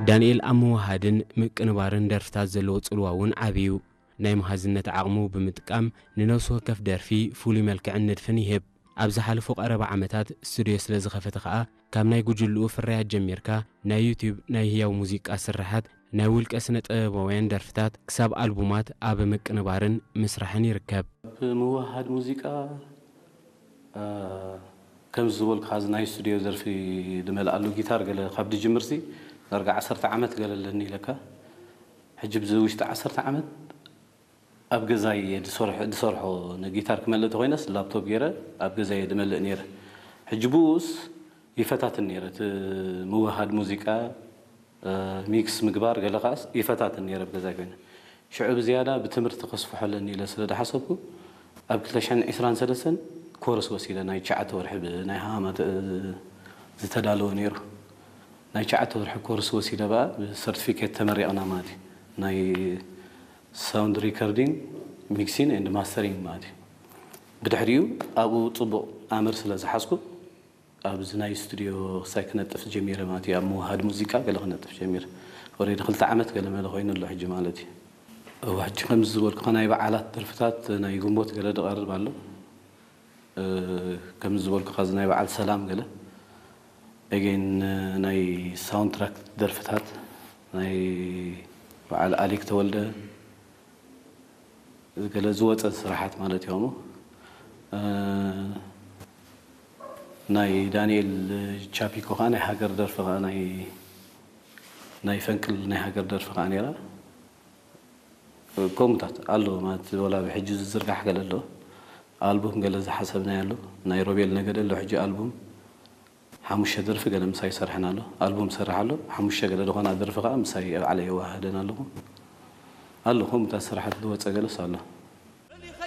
ዳንኤል ኣብ ምውሃድን ምቅንባርን ደርፍታት ዘለዎ ጽልዋ እውን ዓቢ እዩ። ናይ መሃዝነት ዓቕሙ ብምጥቃም ንነፍሲ ወከፍ ደርፊ ፍሉይ መልክዕን ንድፍን ይህብ። ኣብ ዝሓለፉ ቀረባ ዓመታት ስቱድዮ ስለ ዝኸፈተ ከኣ ካብ ናይ ጉጅልኡ ፍርያት ጀሚርካ ናይ ዩትዩብ ናይ ህያው ሙዚቃ ስርሓት ናይ ውልቀ ስነ ጥበባውያን ደርፍታት ክሳብ ኣልቡማት ኣብ ምቅንባርን ምስራሕን ይርከብ። ብምውሃድ ሙዚቃ ከምዚ ዝበልኩ ኻዚ ናይ ስቱድዮ ደርፊ ዝመልኣሉ ጊታር ገለ ካብ ድጅምርሲ ዳርጋ ዓሰርተ ዓመት ገለ ኣለኒ ኢለካ። ሕጂ ብዚ ውሽጢ ዓሰርተ ዓመት ኣብ ገዛይ እየ ዝሰርሖ ንጊታር ክመልእ ተኮይነስ ላፕቶፕ ገይረ ኣብ ገዛይ እየ ዝመልእ ነይረ። ሕጂ ብኡስ ይፈታትን ነይረ እቲ ምውሃድ ሙዚቃ ሚክስ ምግባር ገለ ከዓስ ይፈታትን ነይረ ብገዛይ ኮይነ። ሽዑ ብዝያዳ ብትምህርቲ ከስፍሖ ኣለኒ ኢለ ስለ ዝሓሰብኩ ኣብ ክልተ ሽሕን ዕስራን ሰለስተን ኮርስ ወሲደ ናይ ትሽዓተ ወርሒ ብናይ ሃማ ዝተዳለወ ነይሩ። ናይ ትሽዓተ ወርሒ ኮርስ ወሲደ በኣ ብሰርቲፊኬት ተመሪቕና ማለት እዩ። ናይ ሳውንድ ሪከርዲንግ ሚክሲን ኤንድ ማስተሪንግ ማለት እዩ። ብድሕሪኡ ኣብኡ ፅቡቕ ኣምር ስለ ዝሓዝኩ ኣብዚ ናይ ስቱድዮ ክሳይ ክነጥፍ ጀሚረ ማለት እዩ። ኣብ ምውሃድ ሙዚቃ ገለ ክነጥፍ ጀሚረ። ኦሬዲ ክልተ ዓመት ገለ መለ ኮይኑ ኣሎ ሕጂ ማለት እዩ። እወ፣ ሕጂ ከምዚ ዝበልኩ ናይ በዓላት ደርፍታት ናይ ግንቦት ገለ ዝቐርብ ኣሎ። ከምዚ ዝበልኩ ኻዚ ናይ በዓል ሰላም ገለ ኤጌን ናይ ሳውንድ ትራክ ደርፍታት ናይ በዓል ኣሌክ ተወልደ ገለ ዝወፀ ስራሓት ማለት እዮም። ናይ ዳንኤል ቻፒኮ ከዓ ናይ ሃገር ደርፊ ከዓ ናይ ናይ ፈንቅል ናይ ሃገር ደርፊ ከዓ ነይራ። ከምኡታት ኣሎ ማለት ወላ ብሕጂ ዝዝርጋሕ ገለ ኣሎ። ኣልቡም ገለ ዝሓሰብናይ ኣሎ። ናይ ሮቤል ነገደ ኣሎ ሕጂ ኣልቡም ሓሙሽተ ደርፊ ገለ ምሳይ ይሰርሐን ኣሎ። ኣልቡም ሰርሕ ኣሎ። ሓሙሽተ ገለ ዝኾና ደርፊ ከዓ ምሳይ ባዕለይ የወሃህደን ኣለኹ። ኣሎ ከምኡታት ስራሓት ዝወፀ ገለስ ኣሎ።